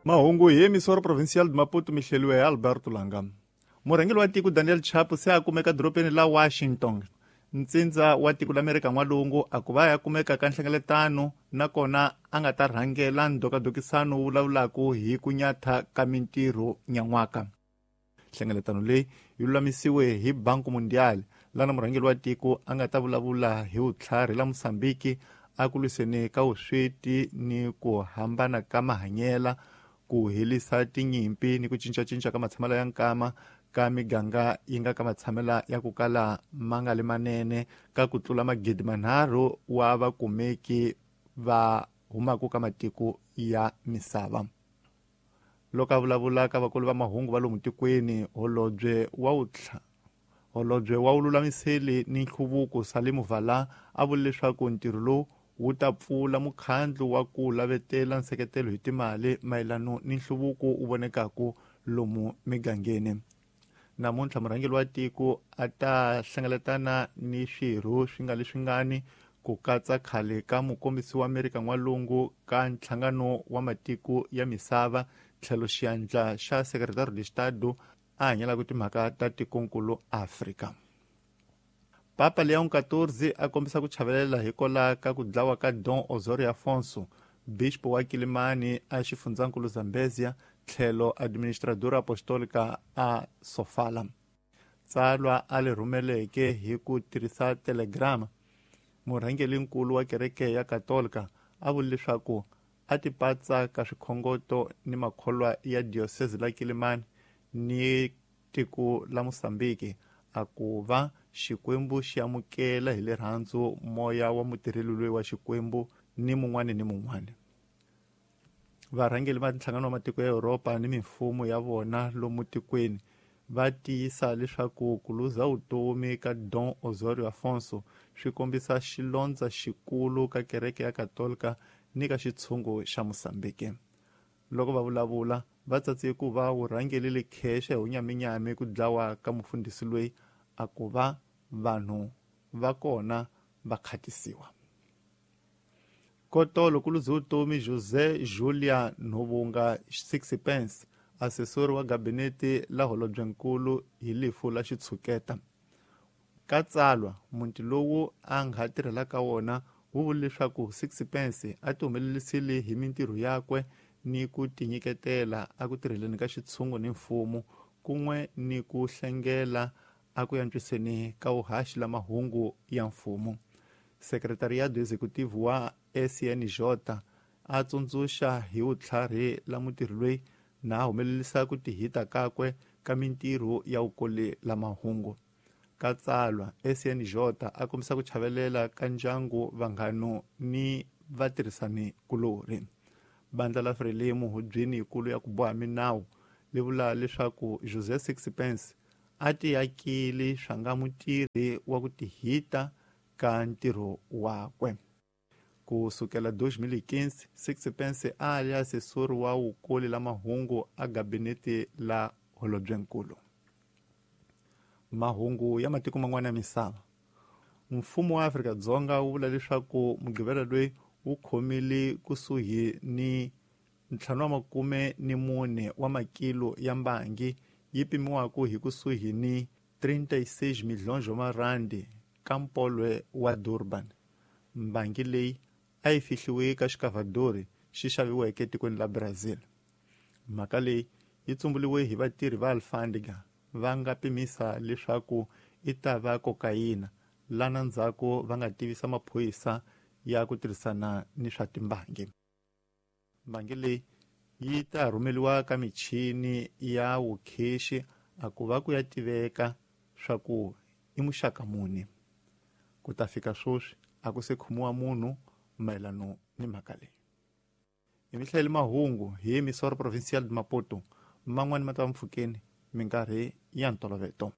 Mahungu hi Emissora Provincial de Maputo mi hleliwe hi Alberto Langa. Murhangeri wa tiko Daniel Chapo se a kumeka dorobeni la Washington, ntsindza wa tiko la Amerika N'walungu, a ku va ya kumeka ka nhlengeletano nakona a nga ta rhangela ndhokadhokisano wu vulavulaka hi ku nyatha ka mintirho nyan'waka. Nhlengeletano leyi yi lulamisiwe hi Banco Mundial, lana murhangeri wa tiko a nga ta vulavula hi vutlhari la Mosambiki a ku lwiseni ka vusweti ni ku hambana ka mahanyela, ku helisa tinyimpi ni ku cincacinca ka matshamelo ya nkama ka miganga yi nga ka matshamelo ya ku kala ma nga li manene ka ku tlula 3,000 wa vakumeki va humaka ka matiko ya misava. Loko a vulavula ka vakulu va mahungu va lomu tikweni, holobye wa vululamiseli ni nhluvuko Salimu Vala a vule leswaku ntirho lowu wu ta pfula mukhandlu wa ku lavetela nseketelo hi timali mayelano ni nhluvuko wu vonekaka lomu migangeni. Namuntlha murhangeri wa tiko a ta hlengeletana ni swirho swi nga leswingani ku katsa khale ka mukombisi wa Amerika N'walungu ka nhlangano wa matiko ya misava tlhelo xiandla xa Secretario de Estado a hanyelaka timhaka ta tikonkulu Afrika. Papa Leon XIV a kombisa ku chavelela hikola ka ku dlawa ka Don Osorio Afonso, bispo wa Kilimani a xifundzankulu Zambezia, tlhelo administradora apostolica a Sofala. Tsalwa a le rhumeleke hi ku tirhisa telegrama, murhangelinkulu wa kereke ya Katolika a vule leswaku a tipatsa ka swikhongoto ni makholwa ya diocese la Kilimani ni tiko la Mosambiki, a ku va Xikwembu xi amukela hi rirhandzu moya wa mutirheli loyi wa Xikwembu ni mun'wani ni mun'wani. Varhangeri va nhlangano wa matiko ya Yuropa ni mimfumo ya vona lomu tikweni va tiyisa leswaku ku luza vutomi ka Don Osorio Afonso swi kombisa xilondza xikulu ka kereke ya Katolika ni ka xitshungu xa Mosambiki. Loko va vulavula, va tsatse ku va wu rhangelile khexe hi wunyaminyami ku dlawa ka mufundhisi loyi a ku va vanhu va kona va khatisiwa. Kotolo ku luze vutomi José Julia Nhovunga Sixpence, asesori wa gabinete la holobyenkulu hi lifu la xitshuketa. Ka tsalwa, muti lowu a nga tirhelaka wona wu vule leswaku Sixpence a ti humelerisile hi mintirho yakwe ni ku tinyiketela a ku tirheleni ka xitshungu ni mfumo, kun'we ni ku hlengela a ku antswiseni ka vuhaxi la mahungu ya mfumo. Sekretariado Executive wa SNJ a tsundzuxa hi vutlhari la mutirhi loyi na humelerisa ku tihita kakwe ka mintirho ya vukoli la mahungu. Ka tsalwa, SNJ a kombisa ku chavelela ka ndyangu, vanghano ni vatirhisani kulorhi. Bandla la Frelimo hubyeni yikulu ya ku boha minawu li vula leswaku José Sixpence a tiyakile swa nga mutirhi wa ku tihita ka ntirho wakwe. Ku sukela 2015, Sixpence a li asesori wa wukoli la mahungu a gabinete la holobyenkulu. Mahungu ya matiko man'wana ya misava. Mfumo wa Afrika-Dzonga wu vula leswaku Mugqivela loyi wu khomile kusuhi ni 54 wa makilo ya mbangi yi pimiwaka hi kusuhi ni 36 milhonjo marandi ka mpolwe wa Durban. Mbangi leyi a yi fihliwe ka xikavhadori xi xaviweke etikweni la Brazil. Mhaka leyi yi tsumbuliwe hi vatirhi va Alfandega va nga pimisa leswaku i ta va kokayina, lana ndzhaku va nga tivisa maphorisa ya ku tirhisana ni swa timbangi. Mbangi leyi yi ta rhumeriwa ka michini ya vukhexi a ku va ku ya tiveka swa ku i muxaka muni. Ku ta fika sweswi a ku se khomiwa munhu mayelano ni mhaka leyi. Hi mi hlayele mahungu hi Emissora Provincial de Maputo, man'wani ma ta va mpfhukeni minkarhi ya ntoloveto.